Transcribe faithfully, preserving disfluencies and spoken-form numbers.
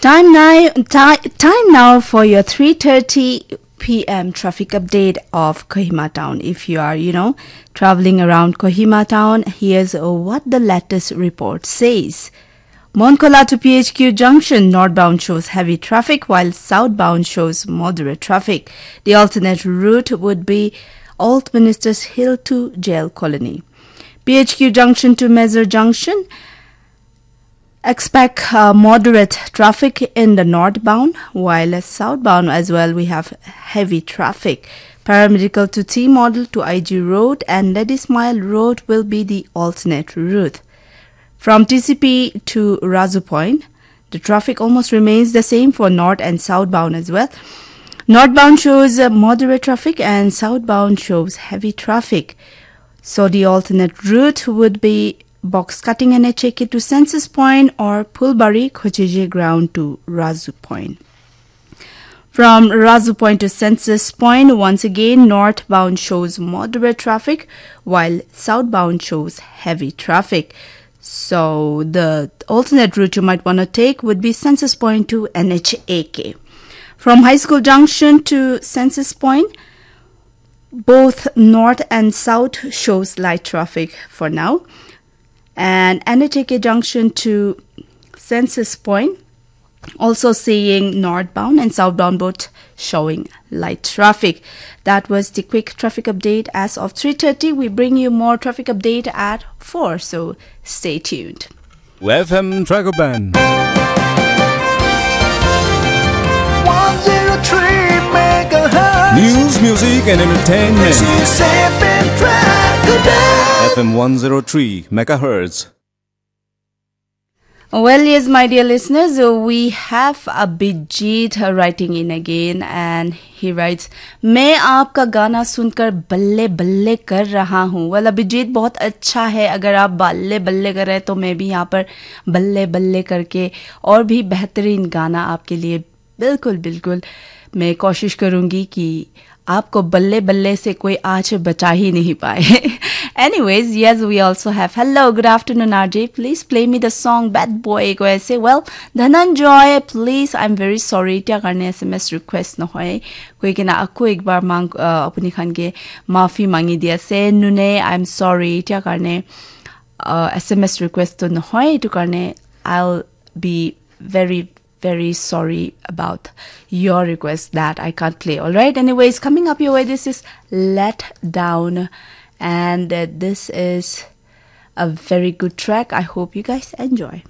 Time now, ti- time now for your three thirty p m traffic update of Kohima town. If you are, you know, traveling around Kohima town, here's what the latest report says. Monkola to P H Q junction northbound shows heavy traffic, while southbound shows moderate traffic. The alternate route would be Old Ministers Hill to Jail Colony. P H Q junction to Mezar junction, expect uh, moderate traffic in the northbound, while southbound as well we have heavy traffic. Paramedical to T Model to I G Road and Lady Smile Road will be the alternate route. From T C P to Razu Point, the traffic almost remains the same for north and southbound as well. Northbound shows uh, moderate traffic and southbound shows heavy traffic. So the alternate route would be box cutting N H A K to Census Point or Phulbari Khochiji ground to Razu Point. From Razu Point to Census Point, once again, northbound shows moderate traffic, while southbound shows heavy traffic. So the alternate route you might want to take would be Census Point to N H A K. From High School Junction to Census Point, both north and south shows light traffic for now. And N H A K junction to Census Point, also seeing northbound and southbound both showing light traffic. That was the quick traffic update as of three thirty. We bring you more traffic update at four, so stay tuned. F M Dragon Band. One zero three megahertz. News, music, and entertainment. This is F M Dragon Band. F M one zero three megahertz. Well, yes, my dear listeners, uh, we have Abhijit uh, writing in again, and he writes, मैं आपका गाना सुनकर बल्ले बल्ले कर रहा हूँ। Well, अभिजीत, बहुत अच्छा है। अगर आप बल्ले बल्ले कर रहे हैं, तो मैं भी यहाँ पर बल्ले बल्ले करके और भी बेहतरीन गाना आपके लिए, बिल्कुल, बिल्कुल, मैं कोशिश करूँगी कि आपको बल्ले बल्ले से कोई आज बचा ही नहीं पाए। Anyways, yes, we also have, hello, good afternoon, R J. Please play me the song Bad Boy, কৈ ase. Well, Dhananjoy, please, I'm very sorry. এতিয়া কাৰণে S M S request নহয়। কৈ কিনে আকৌ একবাৰ মাং-, আহ, আপুনি খানকে মাফি মাঙি দি আছে। নুনে, I'm sorry। এতিয়া কাৰণে, আহ, S M S request টো নহয়। এইটো কাৰণে I'll be very, very sorry about your request that I can't play. All right. Anyways, coming up your way, this is Let Down. And uh, this is a very good track. I hope you guys enjoy.